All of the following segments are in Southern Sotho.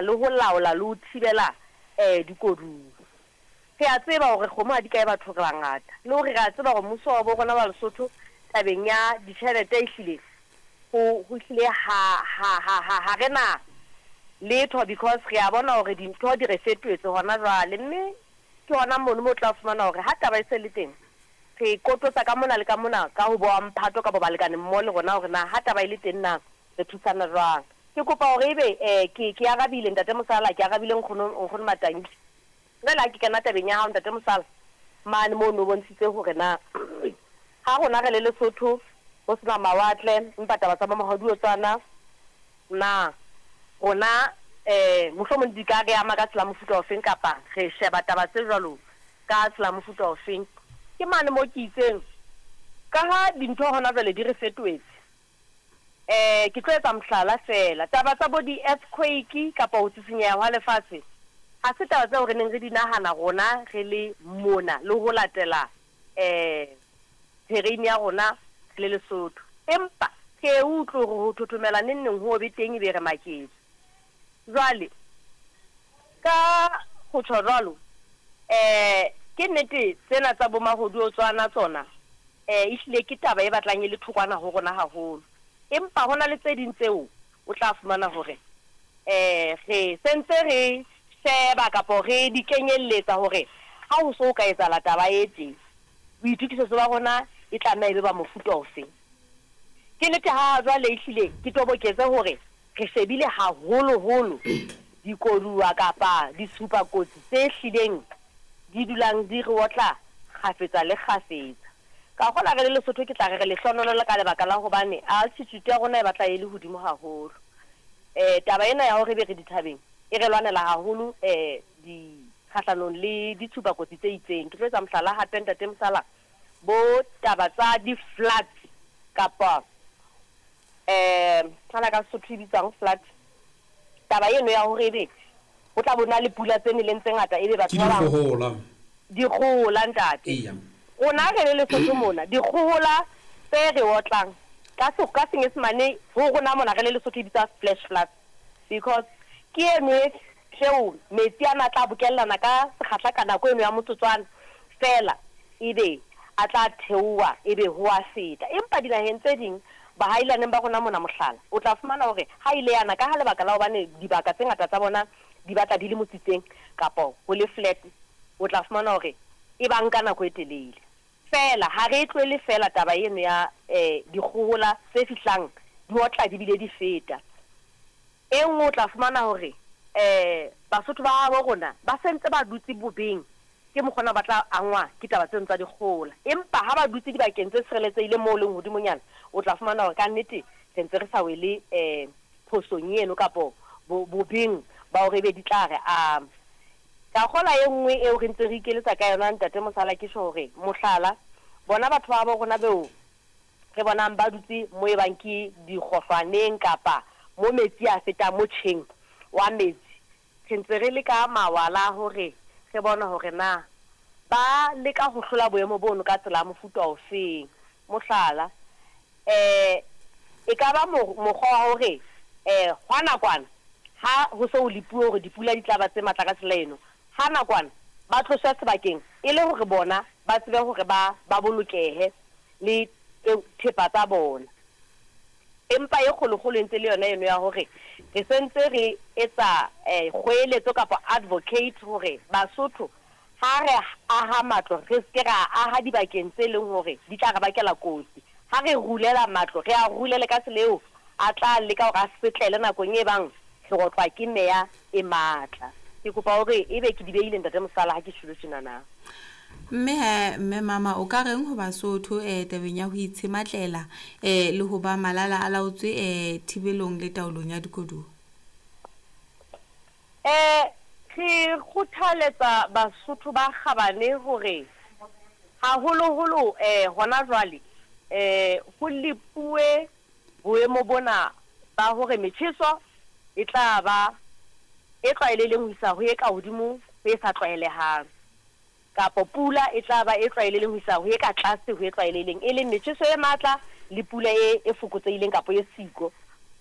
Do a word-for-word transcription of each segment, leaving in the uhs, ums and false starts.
Le ho laola le ho thibela um dikoduwa. Re a tseba hore kgomo ha di kae batho re bangata, le hore re a tseba hore mmuso wa bo rona wa Lesotho tabeng ya ditjhelete ehlile ho ho hlile ha ha ha ha ha re na letho, because re a bona hore dintho di re fetohetse hona jwale. Mme ke hona mono mo tla fumana hore ha taba e se le teng, re kototsa ka mona le ka mona ka ho boa mphato kapa balekane mmoho le rona hore na ha taba e le teng na re thusana jwang. Ke kopa hore ebe um ke ke arabile, Ntate Mosala, ke arabile nkgono nkgono Matanki. Jwale ha ke kena tabeng ya hao, Ntate Mosala, mane moo no bontshitse hore na ha rona re le Lesotho ho sena mawatle, empa taba tsa bo mahodiotswana na rona um mohlomong di ka re ama ka tsela mofuta ofeng, kapa re sheba taba tse jwalo ka tsela mofuta ofeng. Ke mane mo ke itseng ka ha dintho hona jwale di re fetohetse, eh ke tlo etsa mohlala fela, taba tsa bo di-earthquake kapa ho tsitsinyeha hwa lefatshe ha se taba tseo re neng re di nahana rona re le mona le ho latela um terrain ya rona re le Lesotho, empa re e utlwe hore ho thothomela neng neng ho be teng, ebe re maketse. Jwale ka ho tjho jwalo, um ke nnete tsena tsa bo mahodiotswana tsona um ehlile ke taba e batlang e le thokwana ho rona haholo, empa hona le tse ding tseo o tla fumana hore um re sentse re sheba kapo re di kenyelletsa hore ha ho so ka etsahala taba e tje, boitokisetso ba rona e tlameha e be ba mofuta ofe. Ke nnete ha jwale ehlile ke toboketse hore re shebile haholoholo dikoduwa kapa ditshupakotsi tse hlileng di dulang di re otla kgafetsa le kgafetsa. Ka kgola re le Lesotho ke tla re re lehlohonolo ka lebaka la hobane altitude ya rona e batla e le hodimo haholo. um Taba ena ya hore ebe re dithabeng e re lwanela haholo um di kgahlanong le ditshupakotsi tse itseng. Ke tlo etsa mohlala hape, Ntate Mosala, bo taba tsa di-floods kapa um ana ka Sesotho e bitswang flood, taba eno ya hore ebe ho tla bona le pula tse neleng tse ngata, ebe batho ke ba bang dikgohola. Dikgohola, ntate. Eya. Rona re le Lesotho mona dikgohola tse re otlang ka se ka Senyesemane ho rona mona re le Lesotho e bitsa flash floods, because ke eno e tseo metsi ana a tla bokellana ka sekgahla ka nako eno ya motsotswana fela, ebe a tla theoha, ebe ho a feta. Empa dinaheng tse ding, bahailaneng ba rona mona, mohlala, o tla fumana hore ha ile yana ka ha lebaka la hobane dibaka tse ngata tsa bona di batla di le motsitseng kapa ho le flat, o tla fumana hore e ba nka nako e telele. Fela ha re e tlohele fela taba eno ya um dikgohola tse fihlang di otla di bile di feta. E nngwe o tla fumana hore um Basotho ba habo rona ba sentse ba dutse bobeng, ke mokgona ba tla angwa ke taba tseno tsa dikgohola, empa ha ba dutse dibakeng tse tshireletsehileng moo leng hodimonyana, o tla fumana hore kannete re ntse re sa wele um phosong eno kapo bobeng ba hore ebe di tla re ama. Ka kgola e nngwe eo re ntse re ikeletsa ka yona, Ntate Mosala, ke tjho hore mohlala bona batho ba bo rona beo re bonang ba dutse mo e bang ke dikgohlwaneng kapa mo metsi a fetang motjheng wa metsi, re ntse re le ka mawala hore re bone hore na ba leka ho hlola boemo bono ka tsela ya mofuta ofeng. Mohlala, um e ka ba mokgwa wa hore um hwa nakwana ha ho so ho lepuwe hore dipula di tla ba tse matla ka tsela eno, ha nakwana ba tloswe sebakeng e le hore bona ba tsebe hore ba ba bolokehe le thepa tsa bona. Empa e kgolokgolo e ntse le yona eno ya hore re sentse re etsa um kgoeletso kapa advocate hore Basotho ha re aha matlo re seke ra aha dibakeng tse leng hore di tla re bakela kotsi. Ha re rulela matlo, re a rulele ka tsela eo a tla leka hore a setlele nakong e bang re otlwa ke meya e matla. Ke kopa hore ebe ke di behile, Ntate Mosala, ha ke tjholo tjena na. Mme he, mme mama, o ka reng ho Basotho um tabeng ya ho itshematlela um le ho ba malala a laotswe um thibelong le taolong ya dikoduwa? um Re kgothaletsa Basotho ba kgabane hore haholoholo um hona jwale um ho lepuwe boemo bona ba hore metjheso e tla ba e tlwaelehileng ho isa ho e ka hodimo ho e sa tlwaelehang, kapa pula e tla ba e tlwaelehileng ho isa ho e ka tlase ho e tlwaelehileng, e leng metjheso e matla le pula e e fokotsehileng kapa e siko.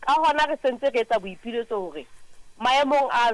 Ka hona re sentse re etsa boipiletso hore maemong a